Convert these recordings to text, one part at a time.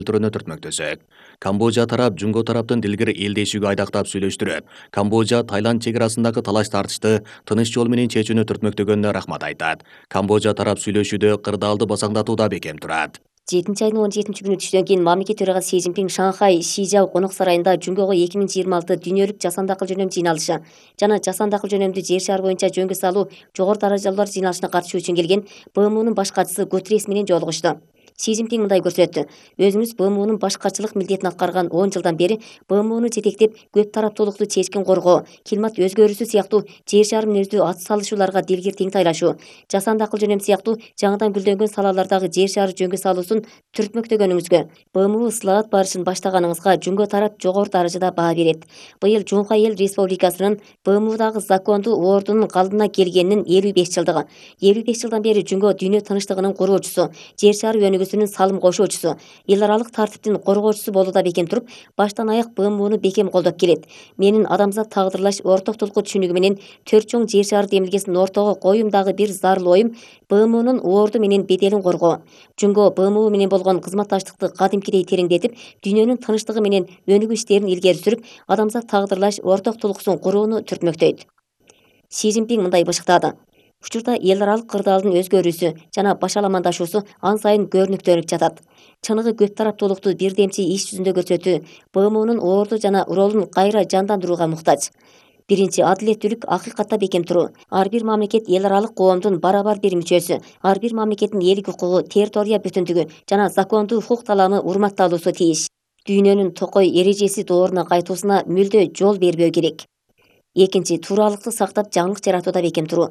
өлтүрүүнү түртмөктөсөк. Камбожа тарап Жунго тараптын дилгир элдешүүгө айдактап сүйлөштүрүп, Камбожа Таиланд чек арасындагы талаш тартышты тыныч жол менен чечүүнү түртмөктөгөнүнө рахмат айтат. Камбожа тарап сүйлөшүүдө кырдаалды басаңдатууда бекем турат. 7 айдын 17 күнү түштөн кийин мамлекет төрагасы Си Цзиньпин Шанхай Шижау конок сарайында Жунгого 2026 дүйнөлүк жасанды акыл жөнөм жыйналышы жана жасанды акыл жөнөмдү жер шары боюнча жөнгө салуу жогору даражалуулар жыйналышына катышуу үчүн келген БМУнун баш катчысы Гутеррес менен жолугушту. Си Цзиньпин мындай көрсөттү: өзүңүз БМУнун баш катчылык милдетин аткарган 10 жылдан бери БМУну жетектеп, көп тараптуулукту чечкин коргоо, климат өзгөрүүсү сыяктуу жер шары мүнөздүү ат салышууларга дилгир тең тайлашуу, жасанды акыл жөнөм сыяктуу жаңыдан гүлдөнгөн салалардагы жер шары жөнгө салуусун түртмөктөгөнүңүзгө, БМУ ысылаат барышын баштаганыңызга Жунго тарап жогору даражада баа берет. Быйыл Жунха эл республикасынын БМУдагы закондуу ордунун калыбына келгенинин 55 жылдыгы. 55 жылдан бери Жунго дүйнө тынчтыгынын куруучусу, жер шары өнүгүүсүнүн салым кошуучусу, эл аралык тартиптин коргоочусу болууда бекем туруп, баштан аяк БМУну бекем колдоп келет. Менин адамзат тагдырлаш орток тулку түшүнүгү менен төрт чоң жер шары демилгесин ортого коюм дагы бир зарыл оюм БМУнун орду менен беделин коргоо. Жунго БМУ менен болгон кызматташтыкты кадимкидей тереңдетип, дүйнөнүн тынчтыгы менен өнүгүү иштерин илгери сүрүп, адамзат тагдырлаш орток тулкусун курууну түртмөктөйт. Си Цзиньпин мындай бышыктады: учурда эл аралык кырдаалдын өзгөрүүсү жана башаламандашуусу ан сайын көрүнүктөнүп жатат. Чыныгы көп тараптуулукту бирдемчи иш жүзүндө көрсөтүү БМУнун орду жана ролун кайра жандандырууга муктаж. Биринчи, адилеттүүлүк акыйкатта бекем туруу. Ар бир мамлекет эл аралык коомдун барабар бир мүчөсү. Ар бир мамлекеттин элдик укугу, территория бүтүндүгү жана закондуу укук таламы урматталуусу тийиш. Дүйнөнүн токой эрежеси дооруна кайтуусуна мүлдө жол бербөө керек. Экинчи, тууралыкты сактап жаңылык жаратууда бекем туруу.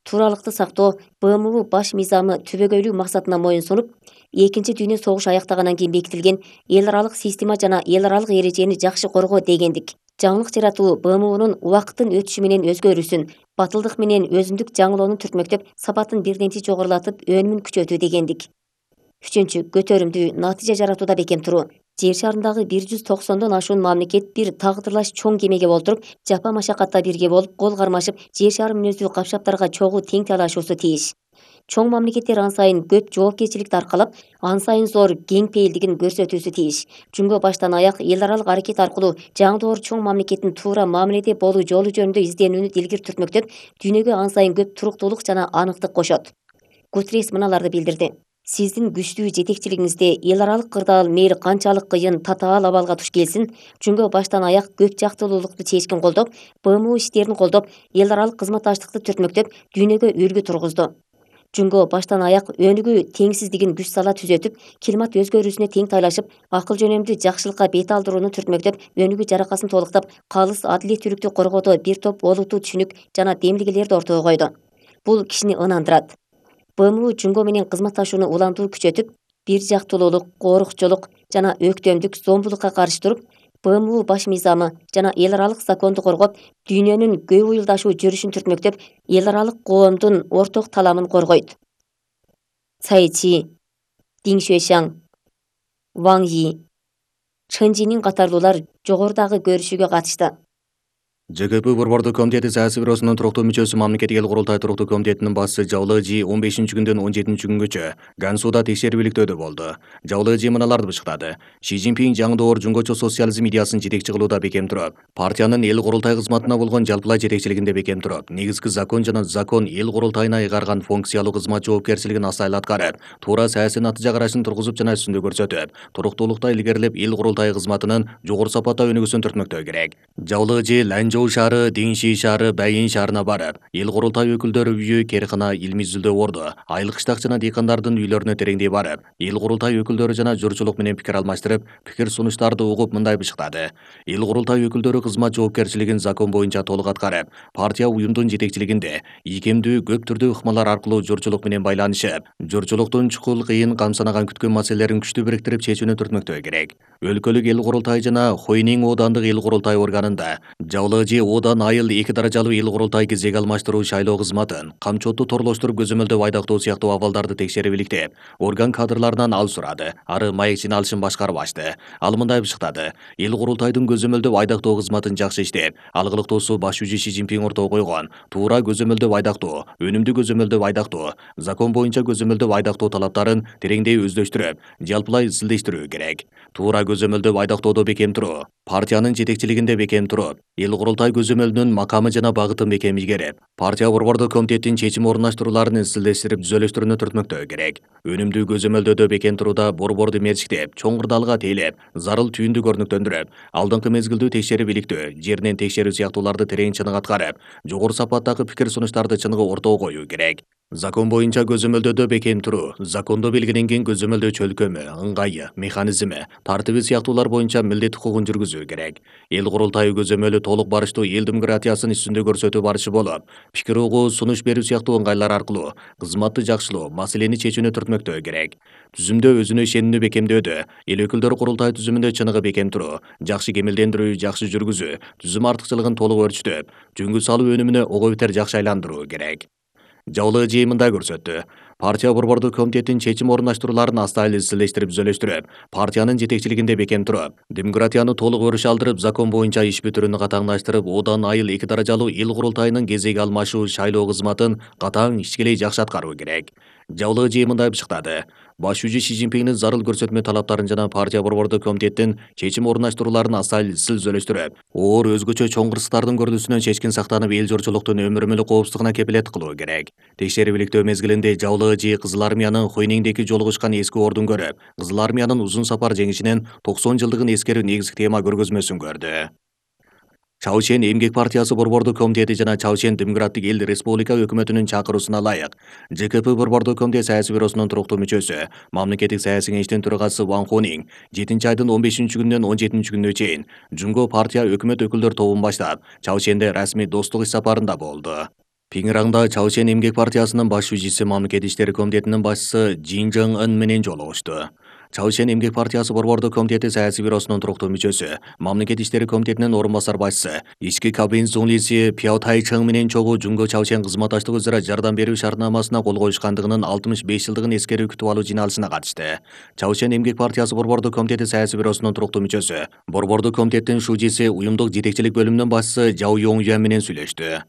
Тууралыкты сактоо БМУ баш мыйзамы түбөгөйлүү максатына моюн сунуп, Экинчи дүйнө согушу аяктагандан кийин бекитилген эл аралык система жана эл аралык эрежени жакшы коргоо дегендик. Жаңылык жаратуу БМУнун убакыттын өтүшү менен өзгөрүүсүн, батылдык менен өзүндүк жаңылоону түртмөктөп, сапатын бирдемчи жогорулатып, өнүмүн күчөтүү дегендик. Үчүнчү, көтөрүмдүү натыйжа жаратууда бекем туруу. Жер шарындагы 190дон ашуун мамлекет бир тагдырлаш чоң кемеге болтуруп, жапа машакатта бирге болуп, кол кармашып, жер шары мүнөздүү капшаптарга чогуу тең талашуусу тийиш. Чоң мамлекеттер ан сайын көп жоопкерчиликти аркалап, ан сайын зор кең пейилдигин көрсөтүүсү тийиш. Жунго баштан аяк эл аралык аракет аркылуу жаңдоор чоң мамлекеттин туура мамиледе болуу жолу жөнүндө изденүүнү дилгир түртмөктөп, дүйнөгө ан сайын көп туруктуулук жана анықтык кошот. Гутеррес мыналарды билдирди: сиздин күчтүү жетекчилигиңизде эл аралык кырдаал мейли канчалык кыйын, татаал абалга туш келсин, Жунго баштан аяк көп жактылуулукту чечкин колдоп, БМУ иштерин колдоп, эл аралык кызматташтыкты түртмөктөп, дүйнөгө үлгү тургузду. Жунго баштан аяк өнүгүү теңсиздигин күч сала түзөтүп, климат өзгөрүүсүнө тең тайлашып, акыл жөнөмдүү жакшылыкка бет алдырууну түртмөктөп, өнүгүү жаракасын толуктап, калыс адилеттүүлүктү коргоодо бир топ олуттуу түшүнүк жана демилгелерди ортого койду. Бул кишини ынандырат. БМУ Жунго менен кызматташууну улантуу күчөтүп, бир жактуулуулук, корукчулук жана өктөмдүк зомбулукка каршы туруп, БМУ баш мыйзамы жана эл аралык законду коргоп, дүйнөнүн көп уюлдашуу жүрүшүн түртмөктөп, эл аралык коомдун орток таламын коргойт. Цай Чи, Дин Шуэшаң, Ваң Yi, Чын Жинин катарлуулар жогорудагы көрүшүүгө катышты. ЖКП Борбордук комитети саясий бюросунун туруктуу мүчөсү Мамлекеттик эл курултай туруктуу комитетинин башчысы Жау Лежи 15-күндөн 17-күнгөчө Гансуда текшерүүлүктөдө болду. Жау Лежи мыналарды бышыктады: Си Цзиньпин жаңдоор жунгочо социализм идеясын жетекчи кылууда бекем туруп, партиянын эл курултай кызматына болгон жалпылай жетекчилигинде бекем туруп, негизги закон жана закон эл курултайына ыйгарган функциялуу кызмат жоопкерчилигин асайыл аткарып, туура саясий натыйжа карашын тургузуп жана үстүндө көрсөтүп, туруктуулукта илгерилеп, эл курултай кызматынын жогору сапатта өнүгүүсүн түртмөктөө керек. Жау Лежи Ланчжоу шаары, Динши шаары, Бэйин шаарына барып, эл курултай өкүлдөрү үйү, керкана, илми изилдөө орду, айыл кыштак жана дыйкандардын үйлөрүнө тереңдей барып, эл курултай өкүлдөрү жана журтчулук менен пикир алмаштырып, пикир сунуштарды угуп мындай бышыктады: эл курултай өкүлдөрү кызмат жоопкерчилигин закон боюнча толук аткарып, партия уюмдун жетекчилигинде ийкемдүү көп түрдүү ыкмалар аркылуу журтчулук менен байланышып, журтчулуктун чукул, кыйын, камсанаган күткөн маселелерин күчтүү бириктирип чечүүнү түртмөктөө керек. Өлкөлүк эл курултай жана Хойнин оодандык эл курултай органында Жау жи Одан айыл 2 даражалуу эл курултай кезеги алмаштыруу шайлоо кызматын, камчотту торлоштуруп көзөмөлдөп айдактоо сыяктуу абалдарды текшерип иликтеп, орган кадрларынан ал сурады, ары маек жиналышын башкарып ачты. Ал мындай бышыктады: эл курултайдын көзөмөлдөп айдактоо кызматын жакшы иштеп, алгылыктоосу баш жүзү Си Цзиньпин ортого койгон туура көзөмөлдөп айдактоо, өнүмдүү көзөмөлдөп айдактоо, закон боюнча көзөмөлдөп айдактоо талаптарын тереңдей өздөштүрүп, жалпылай изилдештирүү керек. Туура көзөмөлдөп айдактоодо бекем туруу, партиянын жетекчилигинде бекем туруп, эл курултай көзөмөлүнүн макамы жана багытын бекем ийгерип, партия борбордук комитеттин чечим орундаштырууларын изилдештирип түзөлүштөрүнө түртмөктөө керек. Өнүмдүү көзөмөлдөөдө бекем турууда борборду мерчиктеп, чоң кырдаалга тейлеп, зарыл түйүндү көрнөктөндүрүп, алдыңкы мезгилдүү текшерип иликтөө, жеринен текшерүү сыяктууларды терең чыныгы аткарып, жогору сапаттагы пикир сунуштарды чыныгы ортого коюу керек. Закон боюнча көзөмөлдөөдө бекем туруу, закондо белгиленген көзөмөлдөө чөлкөмү, ыңгайы, механизми, тартиби сыяктуулар боюнча милдет укугун жүргүзүү керек. Эл курултайы көзөмөлү толук барыштуу эл демократиясын үстүндө көрсөтүү барышы болуп, пикир угуу, сунуш берүү сыяктуу ыңгайлар аркылуу кызматты жакшылоо, маселени чечүүнү түртмөктөө керек. Түзүмдө өзүнө ишенүүнү бекемдөөдө, эл өкүлдөрү курултай түзүмүндө чыныгы бекем туруу, жакшы кемелдендирүү, жакшы жүргүзүү, түзүм артыкчылыгын толук өрчүтүп, жөнгө салуу өнүмүнө ого бетер жакшы айландыруу керек. Жаулыжи мындай көрсөттү: партия борбордук комитеттин чечим орундаштырууларын астайыл изилдештирип түзөлөштүрүп, партиянын жетекчилигинде бекем туруп, демократияны толук өрүш алдырып, закон боюнча иш бүтүрүүнү катаңдаштырып, Одан айыл 2 даражалуу эл курултайынын кезеги алмашуу шайлоо кызматын катаң ичкилей жакшы аткаруу керек. Жаулыжи мындай бышыктады: баш жүзү Си Цзиньпиндин зарыл көрсөтмө талаптарын жана партия борбордук комитеттин чечим орундаштырууларын астайыл түзөлөштүрүп, оор өзгөчө чоң кырсыктардын көрүлүүсүнөн чечкин сактанып, эл журтчулуктун өмүрмөлүк коопсуздугуна кепилет кылуу керек. Текшерип иликтөө мезгилинде Жаулыжи Кызыл армиянын Хойниңдеги жолугушкан эски ордун көрүп, Кызыл армиянын узун сапар жеңишинин 90 жылдыгын эскерүү негизги тема көргөзмөсүн көрдү. Чаушен эмгек партиясы борбордук комитети жана Чаушен демократтык эл республика өкмөтүнүн чакыруусуна ылайык ЖКП борбордук комитет саясий бюросунун туруктуу мүчөсү, мамлекеттик саясий кеңештин төрагасы Ван Хунин 7 айдын 15-күнүнөн 17-күнүнө чейин Жунго партия өкмөт өкүлдөр тобун баштап, Чаушенде расмий достук иш сапарында болду. Пиңраңда Чаушен эмгек партиясынын баш жүзүчүсү Мамлекет иштери комитетинин башчысы Джин Жың Ын менен жолугушту. Чаушен эмгек партиясы борбордук комитети саясий бюросунун туруктуу мүчөсү, Мамлекет иштери комитетинин орун басар башчысы, ички кабинет зуңлиси Пяо Тайчың менен чогуу Жунго Чаушен кызматташтык өзара жардам берүү шартнамасына кол коюшкандыгынын 65 жылдыгын эскерүү күтүп алуу жыйналышына катышты. Чаушен эмгек партиясы борбордук комитети саясий бюросунун туруктуу мүчөсү, борбордук комитеттин шужиси, уюмдук жетекчилик бөлүмүнүн башчысы Жао Йоңюан менен сүйлөштү.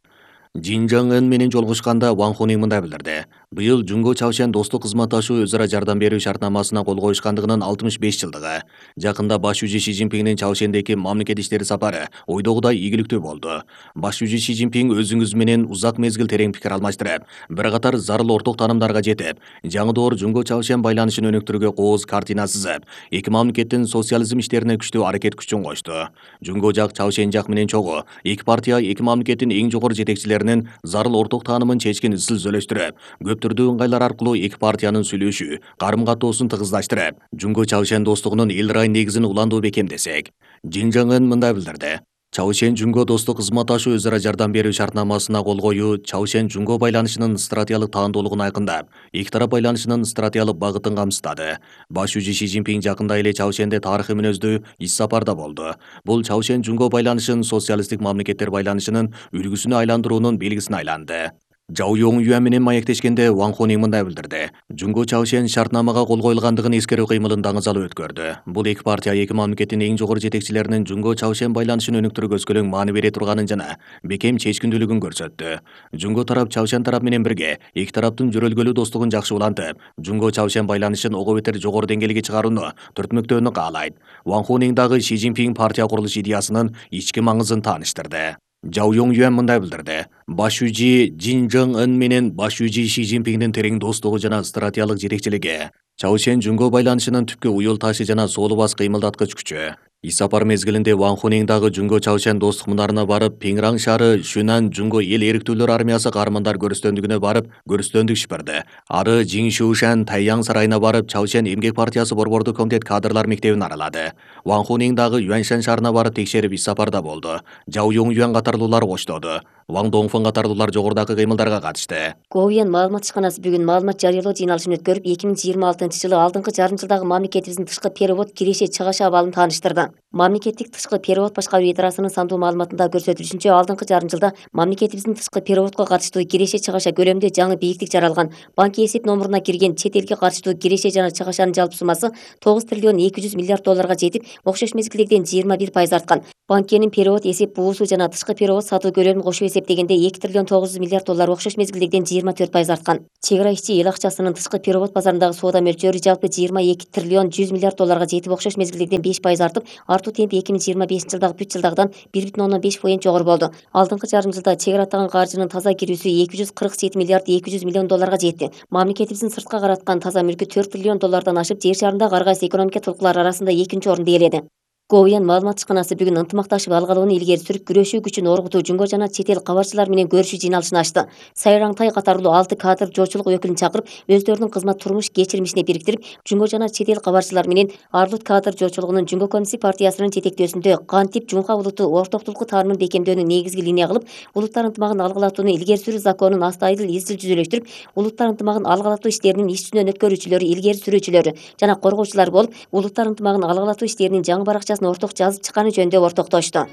Джин Жың Ын менен жолугушканда Ван Хунин мындай билдирди: быйыл Жунго Чаушен достук кызматташуу өзара жардам берүү шартнамасына кол коюшкандыгынын 65 жылдыгы. Жакында баш жүзү Си Цзиньпиндин Чаушендеги мамлекет иштери сапары ойдогудай ийгиликтүү болду. Баш жүзү Си Цзиньпин өзүңүз менен узак мезгил терең пикир алмаштырып, бир катар зарыл орток таанымдарга жетип, жаңы доор Жунго Чаушен байланышын өнүктүрүүгө кооз картина сызып, эки мамлекеттин социализм иштерине күчтүү аракет күчүн кошту. Жунго жак Чаушен жак менен чогуу эки партия эки мамлекеттин эң жогору жетекчилеринин зарыл орток таанымын чечкин изил түзөлөштүрүп, көп түрдүү ыңгайлар аркылуу эки партиянын сүйлөшүү, карым-катоосун тыгыздаштырып, Жунго Чаушен достугунун эл ырайы негизин уландуу бекемдесек. Джин Жың Ын мындай билдирди: Чаушен Жунго достук кызматташуу өзара жардам берүү шартнамасына кол коюу Чаушен Жунго байланышынын стратегиялык таандуулугун айкындап, эки тарап байланышынын стратегиялык багытын камсыздады. Баш жүзү Си Цзиньпин жакында эле Чаушенде тарыхый мүнөздүү иш сапарда болду. Бул Чаушен Жунго байланышын социалисттик мамлекеттер байланышынын үлгүсүнө айландыруунун белгисине айланды. Жао Йоңюан менен маектешкенде Ван Хунин мындай билдирди: Жунго Чаушен шартнамага кол коюлгандыгын эскерүү кыймылын даңазалуу өткөрдү. Бул эки партия эки мамлекеттин эң жогору жетекчилеринин Жунго Чаушен байланышын өнүктүрүүгө өскөлөң маани бере турганын жана бекем чечкиндүүлүгүн көрсөттү. Жунго тарап Чаушен тарап менен бирге эки тараптын жөрөлгөлүү достугун жакшы улантып, Жунго Чаушен байланышын ого бетер жогору деңгээлге чыгарууну түртмөктөөнү каалайт. Ван Хунин дагы Си Цзиньпин партия курулуш идеясынын ички маңызын тааныштырды. Жао Йоңюан мындай билдирди: баш жүзү Джин Жың Ын менен баш жүзү Си Цзиньпиндин терең достугу жана стратегиялык жетекчилиги Чаушен Жунго байланышынын түпкү уюл ташы жана соолу баш кыймылдаткыч күчү. Иш сапар мезгилинде Ван Хунин дагы Жунго Чаушен достук мунарына барып, Пиңраң шаары Шүнан Жунго эл эрктүүлөр армиясы каармандар көрүстөндүгүнө барып, көрүстөндүк шыпырды. Ары Жиңшушан Тайяң сарайына барып, Чаушен эмгек партиясы борбордук комитет кадрлар мектебин аралады. Ван Хунин дагы Юаньшан шаарына барып текшерип иш сапарда болду. Жао Йоңюан катарлуулар коштоду. Ван Доңфун катарлуулар жогорудагы кыймылдарга катышты. Говьян маалымат ишканасы бүгүн маалымат жарыялоо жыйналышын өткөрүп, 2026 жылы алдыңкы жарым жылдагы мамлекетибиздин тышкы перевод киреше чыгышы абалын тааныштырды. Мамлекеттик тышкы перевод башкаруу идарасынын сандуу маалыматында көрсөтүлүшүнчө, алдыңкы жарым жылда мамлекетибиздин тышкы переводко катыштуу киреше чыгаша көлөмүндө жаңы бийиктик жаралган. Банк эсеп номуруна кирген чет элге катыштуу киреше жана чыгашанын жалпы суммасы 9 триллион 200 миллиард долларга жетип, окшош мезгилдегиден 21% арткан. Банкенин перевод эсеп буусу жана тышкы перевод сатуу көлөмүн кошуп эсептегенде 2 триллион 900 миллиард доллар окшош мезгилдегиден 24% арткан. Чек ара ичи эл акчасынын тышкы перевод базарындагы соода мөлчөрү жалпы 22 триллион 100 миллиард долларга жетип, окшош мезгилдегиден 5% артып, артуу темпи 2025 жылдагы 3 жылдагыдан 1,5% жогору болду. Алдыңкы жарым жылда чек араттаган каржынын таза кирүүсү 247 миллиард 200 миллион долларга жетти. Мамлекетибиздин сыртка караткан таза мүлкү 4 триллион доллардан ашып, жер шарындагы ар кайсы экономика толкуулар арасында 2-нчи орунду ээледи. Говиян маалымат ишканасы бүгүн ынтымакташып алгалууну илгери сүрүп, күрөшүү күчүн оргутуу, жумго жана чет эл кабарчылар менен көрүшүү жыйналышын ачты. Сайраңтай катарлуу 6 кадр жоочулук өкүлүн чакырып, өздөрүнүн кызмат турмуш кечирмишине бириктирип, жумго жана чет эл кабарчылар менен Арлут кадр жоочулугунун Жумго коммунистик партиясынын жетектөөсүндө кантип жумка улуту ортоктулуку таанымын бекемдөөнү негизги линия кылып, улуттар ынтымагын алгылатууну илгери сүрүү законун астайыл изил жүзөлөштүрүп, улуттар ынтымагын алгылатуу иштеринин иш жүзүнөн өткөрүүчүлөрү, илгери сүрүүчүлөрү жана коргоочулар болуп, улуттар ынтымагын алгылатуу иштеринин жаңы баракчасын орток жазып чыкканы жөнүндө ортоктошту.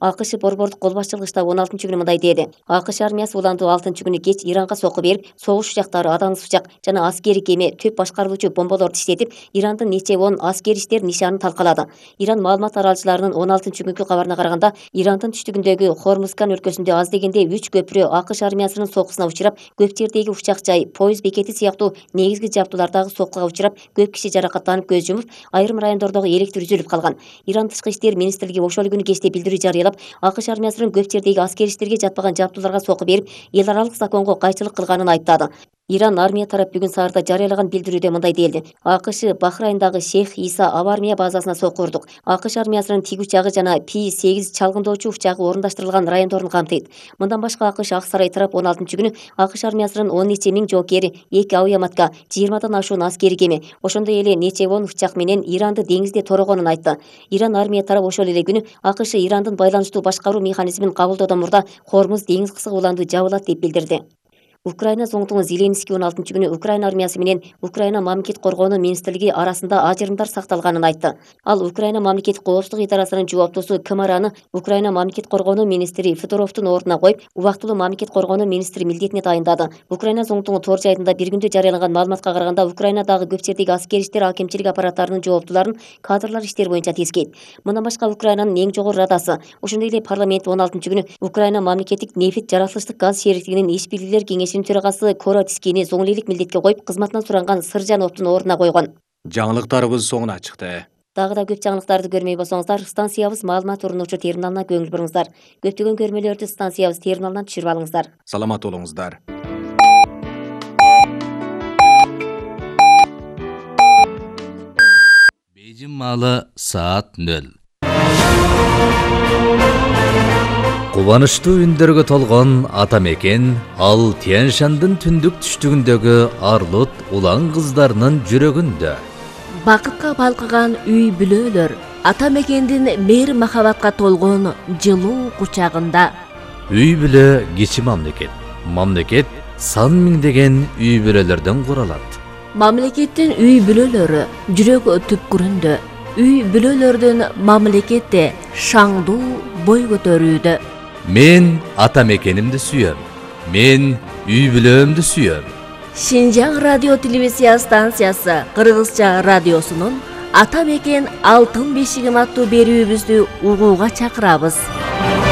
АКШ борбордук кол башчылыгы штабы 16-күнү мындай деди. АКШ армиясы уланды 6-күнү кеч Иранга сокку берип, согуш учактары, атаңыз учак жана аскери кеме, төп башкарылуучу бомбалорду иштетип, Ирандын нече 10 аскери иштер нишанын талкалады. Иран маалымат аралчыларынын 16-күнкү кабарына караганда, Ирандын түштүгүндөгү Хормузган өлкөсүндө аз дегенде 3 көпүрө АКШ армиясынын соккусуна учурап, көп жердеги учак жай, поезд бекети сыяктуу негизги жабдуулардагы соккуга учурап, көп киши жаракаттанып, көз жумуп, айрым райондордогу электр үзүлүп калган. Иран тышкы иштер министрлиги ошол күнү кечте билдирүү жарыялап, АКШ армиясынын көп жердеги аскери иштерге жатпаган жабдууларга сокку берип, эл аралык законго кайчылык кылганын айыптады. Иран армия тарап бүгүн саарда жарыялаган билдирүүдө мындай делди. АКШ Бахрайндагы Шейх Иса аба армия базасына сокку урдук. АКШ армиясынын тиг учагы жана Пи-8 чалгындоочу учагы орундаштырылган райондорун камтыйт. Мындан башка АКШ Ак сарай тарап 16-күнү АКШ армиясынын 10 нече миң жоокери, 2 авиаматка, 20дан ашуун аскери кеме, ошондой эле нече 10 учак менен Иранды деңизде торогонун айтты. Иран армия тарап ошол эле күнү АКШ Ирандын байланыштуу башкаруу механизмин кабылдоодон мурда Хормуз деңиз кысык уланды жабылат деп билдирди. Украина зоңтугу Зеленский 16-күнү Украина армиясы менен Украина мамлекет коргоонуу министрлиги арасында ажырымдар сакталганын айтты. Ал Украина мамлекеттик коопсуздук идарасынын жооптусу Камараны Украина мамлекет коргоонуу министри Федоровдун ордуна коюп, убактылуу мамлекет коргоонуу министри милдетине тайындады. Украина зоңтугу тор жайында бир күндө жарыялаган маалыматка караганда, Украинадагы көп жердеги аскери иштер акимчилик аппараттарынын жооптуларын кадрлар иштери боюнча тизгейт. Мындан башка Украинанын эң жогору радасы, ошондой эле парламент 16-күнү Украина мамлекеттик нефть жаратылыштык газ шериктигинин иш бийлүүлөр кеңешинин төрагасы Кора Тискини зоң элелик милдетке коюп, кызматынан суранган Сыржановдун ордуна койгон. Жаңылыктарыбыз соңуна чыкты. Дагы да көп жаңылыктарды көрмөй болсоңуздар, станциябыз маалымат урунуучу терминалына көңүл буруңуздар. Көптөгөн көрмөлөрдү станциябыз терминалынан түшүрүп алыңыздар. Саламат болуңуздар. Бейжин маалы саат 0. Кубанычтуу үндөргө толгон ата мекен ал Тянь-Шандын түндүк түштүгүндөгү Арлут улан кыздарынын жүрөгүндө. Бакытка балкыган үй бүлөлөр ата мекендин мейир махабатка толгон жылуу кучагында. Үй бүлө кичи мамлекет. Мамлекет сан миңдеген үй бүлөлөрдөн куралат. Мамлекеттин үй бүлөлөрү жүрөк түпкүрүндө. Үй бүлөлөрдүн мамлекетте шаңдуу бой көтөрүүдө. Мен ата мекенимди сүйөм. Мен үй бүлөөмдү сүйөм. Шинжаң радио телевизия станциясы Кыргызча радиосунун Ата мекен алтын бешигим аттуу берүүбүздү угууга чакырабыз.